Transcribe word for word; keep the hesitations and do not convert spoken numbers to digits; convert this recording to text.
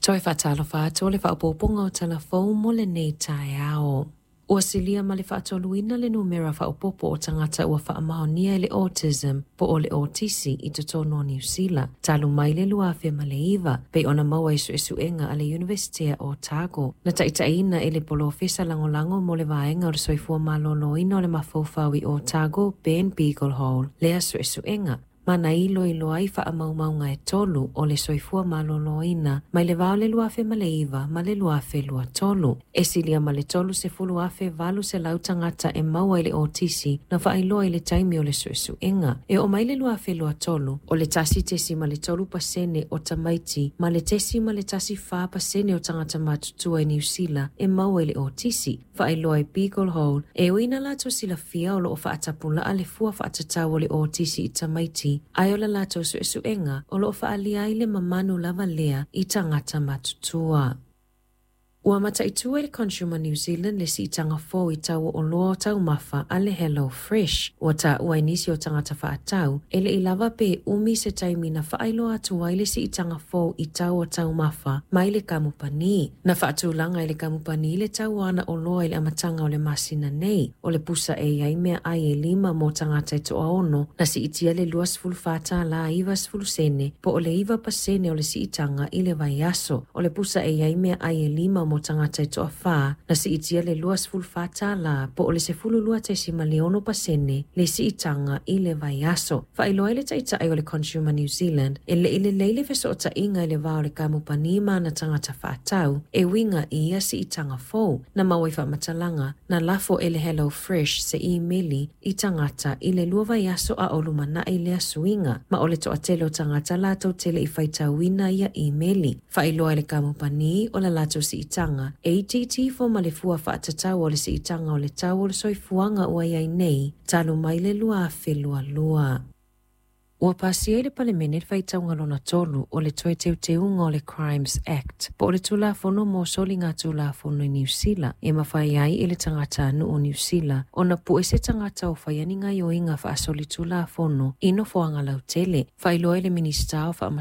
Toe faatalofa atu o le faaopoopoga o Tala Fou mo lenei taeao. Ua silia ma le faatoluina le numera faaopoopo o tagata ua faamaonia i le autism po o le otisi i totonu o Niu Sila, talu mai le lua afe ma le iva, pei ona maua i suesuega a le Iunivesitea o Otago. Na taitaiina e le polofesa lagolago mo le vaega o le soifua maloloina o le mafaufau i Otago, Ben Beaglehole, lea suesuega, ma na iloilo ai faamaumauga e tolu o le soifua maloloina mai le va o le lua afe ma le iva ma le lua afe lua tolu. E silia ma le tolu sefulu afe valu selau tagata e maua i le otisi na faailoa i le taimi o le suesuega. E oo mai le lua afe lua tolu, o le tasi tesima le tolu pasene o tamaiti ma le tesima le tasi fa pasene o tagata matutua i Niu Sila e maua i le otisi. Faailoa e Beaglehole, e ui ina latou silafia o loo faatapulaa le fua faatatau o le otisi i tamaiti, ae o le latou suesuega o loo faaalia ai le mamanu lava lea i tagata matutua. Ua mataitu e le Consumer New Zealand le siitaga fou i tau o oloa o taumafa a le Hello Fresh. Ua taua e nisi o tagata faatau, e le i lava pe umi se taimi na faailoa atu ai le siitaga fou i tau o taumafa mai le kamupani. Na faatulaga e le kamupani le tau o ana oloa i le amataga o le masina nei. O le pusa e i ai meaai e lima mo tagata e toaono, na siitia le luasefulu fa tālā ivasefulu sene po o le iva pasene o le siitaga i le vaiaso. O le pusa e i ai meaai e lima mo tagata e toafa, na siitia le luasefulu fa tālā po o le sefulu lua tesima le ono pasene le siitaga i le vaiaso. Faailoa ai le taitai o le Consumer New Zealand, e le i lelei le fesootaiga i le va o le kamupani ma ana tagata faatau, e uiga i ia siitaga fou. Na maua i faamatalaga, na lafo e le Hello Fresh se imeli i tagata i le lua vaiaso a o lumanai lea suiga, ma o le toatele o tagata latou te le i faitauina ia imeli. Faailoa e le kamupani o la latou siitaga e itiiti ifo ma le fua faatatau o le siitaga o le tau o le soifuaga ua i ai nei, talu mai le lua afe lua lua. Ua pasia i le Palemene le faitauga lona tolu o le toe teuteuga o le Crimes Act, po o le Tulafono mo soliga Tulafono i Niu Sila, e mafai ai e le tagatanuu o Niu Sila ona pue se tagata o faia ni gaoioiga faasoli Tulafono i nofoaga lautele. Faailoa e le Minisita o